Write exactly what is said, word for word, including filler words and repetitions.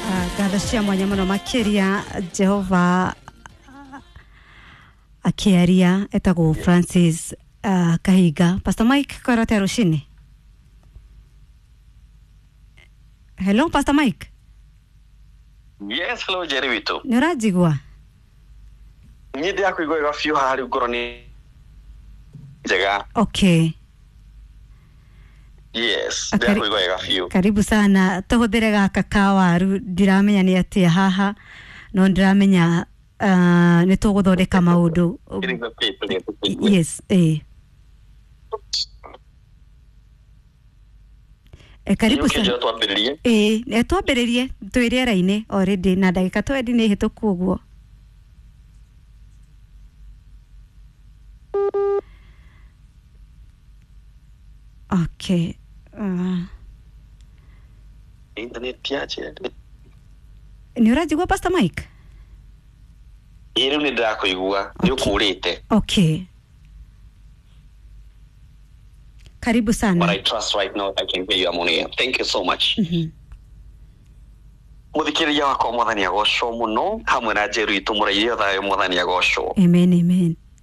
Ngatho cia mwanya muno makiria Jehova akiaria etagwo Francis uh, Kahiga. Pastor Mike, kwĩra atĩa rũcinĩ? Hello Pastor Mike. Yes, hello Jerry witũ. Nĩ ũranjigua? Niĩ ndĩrakũigua wega biũ haha rĩu ngoro nĩ njega. Okay. Yes, Akari- ndĩrakũigua wega biũ. Karibu sana. Tũhũthĩre gaka ka waru, ndiramenya nĩ atĩa haha no ndiramenya uh, nĩ tũgũthondeka maũndũ. Yes, eh. Eh, karibu sana. Njĩra twambĩrĩrie. Ĩĩ, nĩ twambĩrĩrie twĩ rĩera-inĩ already na ndagĩka twendi nĩ hĩtũku ũguo. Okay. Uh, Internet ya Jerry. nĩ ũranjigua Pastor Mike? Ĩĩ rĩu nĩ ndĩrakũigua, nĩ ũkũrĩte. Okay. Karibu But sana. I trust right now I can hear you, I'm on air. Thank you so much. Mhm. Mũthikĩrĩria wakwa mwathani agocwo mũno hamwe na Njeru itũ mũrairio thayũ mwathani agocwo. Amen, amen.